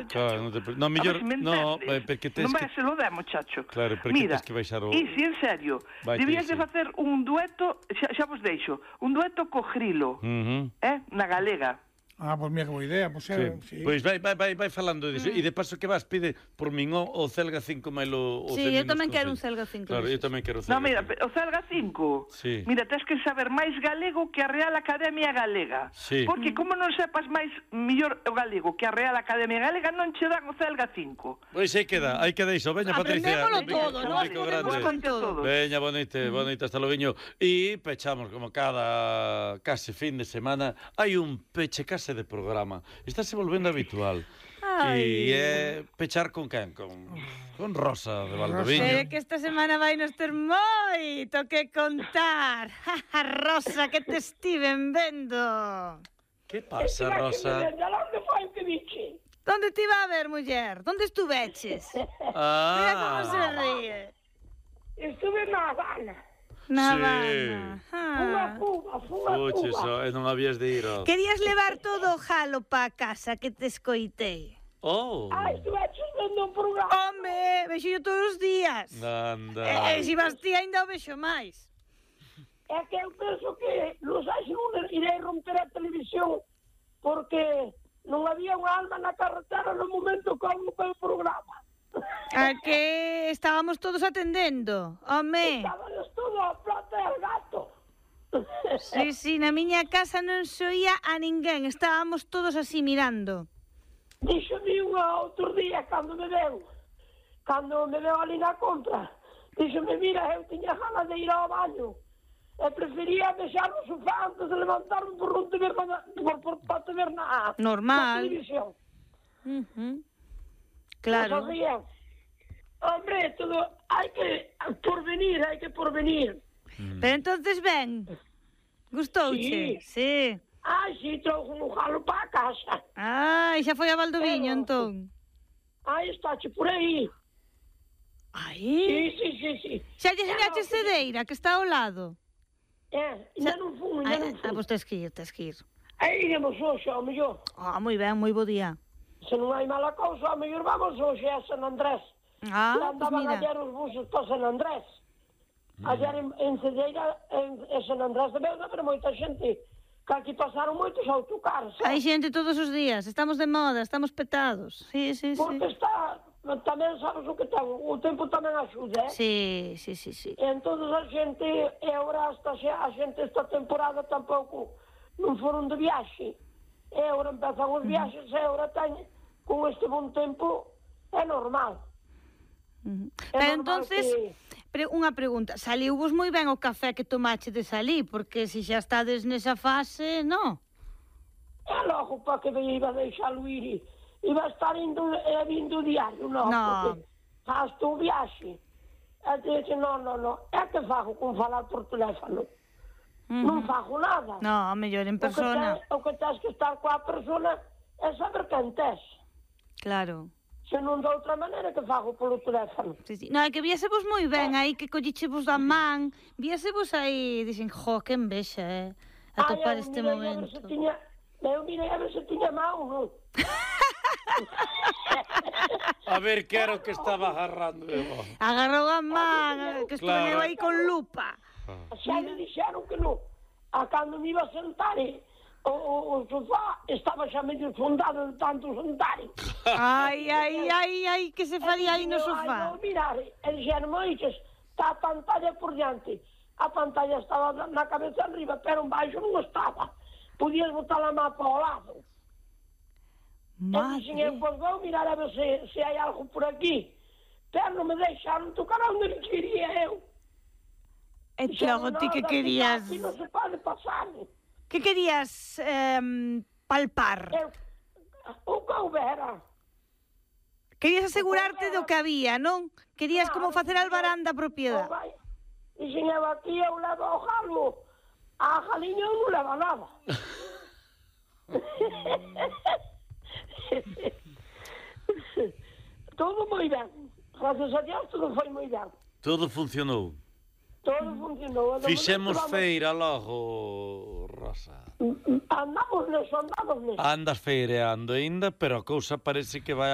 chacho. Claro, no, mellor, no, porque tes non que... vai se lo der, muchacho. Claro, porque mira, tes que baixar o... Isi, en serio, debías de facer un dueto, xa vos deixo, un dueto co Grilo, na galega. Ah, pois mira que boa idea, pois sí. Pois vai falando disso. E de paso que vas, pide por min o Celga 5 máis o sí, eu tamén quero un Celga 5. Claro, eu tamén quero o Celga 5. No, mira, o Celga 5, sí. Mira, tens que saber máis galego que a Real Academia Galega. Sí. Porque como non sepas máis mellor o galego que a Real Academia Galega, non che dan o Celga 5. Pois aí queda iso. Veña, Patricia. Aprendémolo todo, nós podemos con todo. Veña, bonita, hasta logo. E pechamos como cada case fin de semana. Hai un peche case de programa. Está se volvendo habitual. E é pechar con quen? Con Rosa de Valdoviño. Pero que esta semana vai nos ter moito que contar. Rosa, que te estiven vendo. Que pasa, Rosa? Onde foi que dixe? Donde te iba a ver, muller? Donde estuveches? Mira como se ríe. Estuve na Habana. Na Habana. Unha Cuba. Non habías de ir. Querías levar todo o jalo pa casa que te escoitei. Estuveches vendo un programa. Home, vexo yo todos os días. Anda. E se vas ti ainda o vexo máis. É que eu penso que los años irei romper a televisión porque non había unha alma na carretera no momento que houve o programa. A que estábamos todos atendendo, home. Estábamos todos a plata e al gato. Sí, na miña casa non se oía a ninguén, estábamos todos así mirando. Díxome unha outro día cando me veu ali na compra, díxome, mira, eu tiña ganas de ir ao baño e prefería deixar o sofá antes de levantarme por non te ver para te ver na televisión. Claro. Hombre, todo hai que porvenir. Pero entonces ven. Gustouche? Sí. Sí, trouxe un jalo para a casa. Xa foi a Valdoviño, entón. Estáche por aí. Sí. Xa lle enseñaches Cedeira, que está ao lado. Ainda non fun. Pois tes que ir. Aí iremos hoxe, ao mellor. Moi ben, moi bo día. Se non hai mala cousa, ao mellor vamos hoxe a San Andrés. Andaban ayer os buses para San Andrés. Ayer en Cedeira, en San Andrés de Beuda, pero moita xente, que aquí pasaron moitos autocares. Hai xente todos os días, estamos de moda, estamos petados. Sí. Porque está, tamén sabes o que ten, o tempo tamén axuda, Sí. Entón a xente, e agora a xente esta temporada tampouco non foron de viaxe. E agora empezan os viaxes, e agora teñen, con este bon tempo, é normal. Pero entonces, unha pregunta, saliu vos moi ben o café que tomachedes ali, porque se xa estades nesa fase, non? É logo para que me iba a deixalo ir, iba a estar vindo diario, non? Porque faz tu viaxe. E dixe, non, é que fago con falar por teléfono. Non fago nada. Non, mellor en persona. O que tens que estar coa persona é saber quen tes. Claro. Se non de outra maneira que fago polo teléfono. Sí. Non, é que viésevos moi ben aí, que collichevos da man, viésevos aí, dixen, que envexa, atopar este momento. Eu mirei a ver se tiña mão, non? A ver que era o que estaba agarrando. Agarrou a man, que estou aí con lupa. Xa me dixeron que non. A cando me iba a sentar, o sofá estaba xa medio fundado de tanto sentar. Ai, que se faría aí no sofá? Vou mirar, e dixeron, moiches, está a pantalla por diante. A pantalla estaba na cabeza arriba, pero en baixo non estaba. Podías botar a má para o lado. Madre. E dixen, pois vou mirar a ver se hai algo por aquí. Pero non me deixaron tocar onde quería eu. E logo ti que querías... Aquí non se pode pasar. Que querías palpar? O que houbera. Querías asegurarte do que había, non? Querías como facer albarán da propiedade. Dixen, eu aquí eu levo ao jalo. A jaliña eu non leva nada. Todo moi ben. Gracias a Dios, todo foi moi ben. Todo funcionou. Todo funcionou. Fixemos feira logo, Rosa. Andamos neso. Andas feireando aínda, pero a cousa parece que vai